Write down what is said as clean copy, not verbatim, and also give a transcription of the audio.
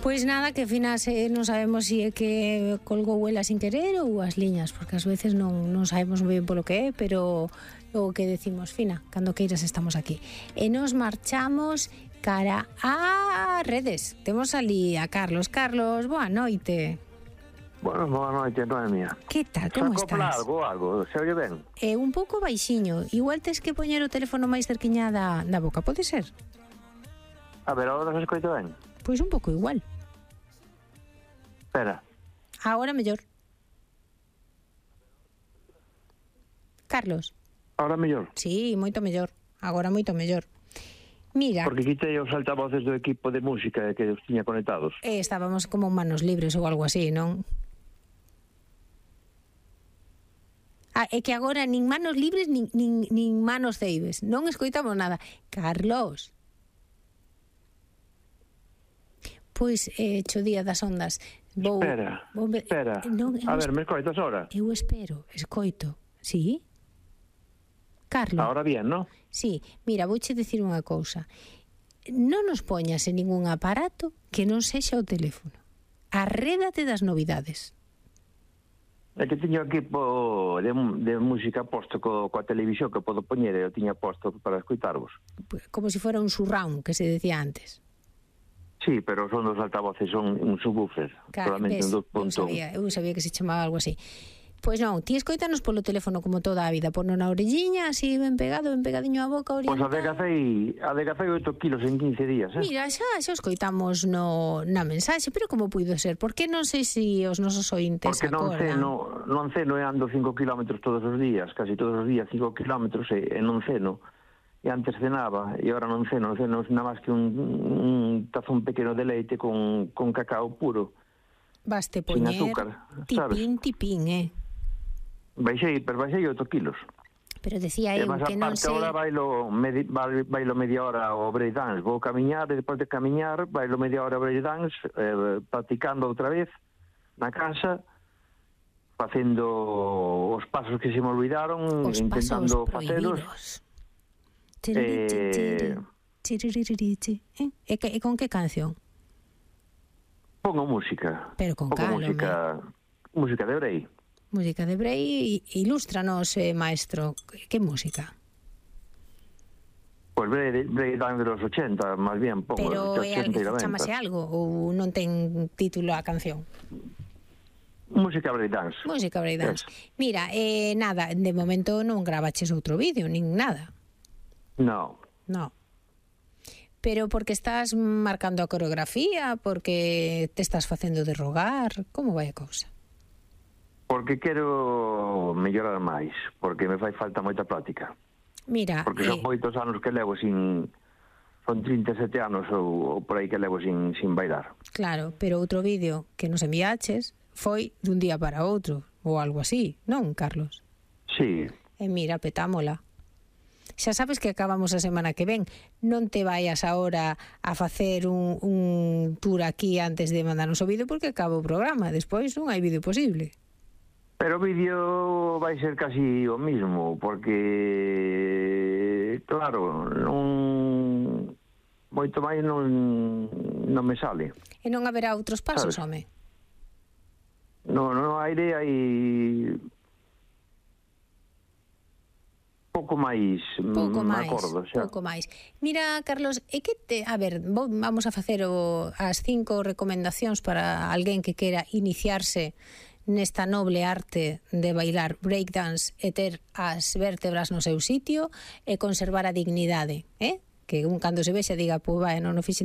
Pois nada, que finas non sabemos se é que colgou ela sin querer ou as liñas, porque ás veces non sabemos moi ben polo que é, pero o que decimos, Fina, cando queiras estamos aquí. E nos marchamos cara a redes. Temos ali a Carlos. Carlos, boa noite. Bueno, boa noite, Noemia. Que tal, como estás? Algo, se oye ben? Un pouco baixiño. Igual tes que poñer o teléfono máis cerquiña da boca, pode ser? A ver, agora se escoita ben? Pois un pouco igual. Espera. Agora mellor. Carlos. Ahora mellor? Sí, moito mellor. Agora moito mellor. Mira. Porque quitei os altavoces do equipo de música que os tiña conectados. Estábamos como manos libres ou algo así, non? É que agora nin manos libres nin manos ceibes. Non escoitamos nada. Carlos. Pois, cho día das ondas. Espera. Non, a ver, me escoitas ahora? Eu escoito. Sí? Carlos. Ahora bien, ¿no? Sí, mira, vouche dicir unha cousa. Non nos poñas en ningún aparato que non sexa o teléfono. Arrédate das novidades. É que tiño equipo de música posto coa televisión que podo poñer, eu tiña posto para escoitarvos. Como se fora un surround, que se decía antes. Sí, pero son dos altavoces, son un subwoofer. Solamente un 2.1. Eu sabía que se chamaba algo así. Pois non, ti escoitanos polo teléfono como toda a vida, pono na orelliña, así ben pegadiño á boca, orientado. Pois adegacei 8 kilos en 15 días, Mira, xa escoitamos na mensaxe, pero como puido ser? Porque non sei se os nosos ointes acordan. Porque non ceno e ando 5 kilómetros todos os días, casi todos os días 5 kilómetros e non ceno. E antes cenaba, e agora non ceno nada máis que un tazón pequeno de leite con cacao puro. Baste poñer tipín, Baixei 8 kilos. Pero decía eu que non sei... Agora bailo media hora ao breakdance. Vou camiñar, e despois de camiñar, bailo media hora ao breakdance, practicando outra vez na casa, facendo os pasos que se me olvidaron, intentando facelos. E con que canción? Pongo música. Pero con calma. Música de Brei. Música de Brei, ilústranos, maestro, que música? Pois Brei dan de los 80, máis bien, pongo. Pero chamase algo ou non ten título a canción? Música breakdance. Música breakdance. Mira, nada, de momento non gravaches outro vídeo, nin nada. No. Pero porque estás marcando a coreografía, porque te estás facendo de rogar, como vai a cousa? Porque quero mellorar máis, porque me fai falta moita práctica. Mira, porque son moitos anos que levo sin... Son 37 anos ou por aí que levo sin bailar. Claro, pero outro vídeo que nos enviaches foi dun día para outro, ou algo así, non, Carlos? Sí. E mira, petámola. Xa sabes que acabamos a semana que ven. Non te vayas agora a facer un tour aquí antes de mandarnos o vídeo porque acaba o programa. Despois non hai vídeo posible. Pero o vídeo vai ser casi o mismo, porque, claro, moito máis non me sale. E non haberá outros pasos, home? Non hai pouco máis acordo, xa. Pouco máis. Mira, Carlos, vamos a facer as 5 recomendacións para alguén que quera iniciarse nesta noble arte de bailar breakdance e ter as vértebras no seu sitio e conservar a dignidade, que un cando se vexa diga, pois vai, non o fixen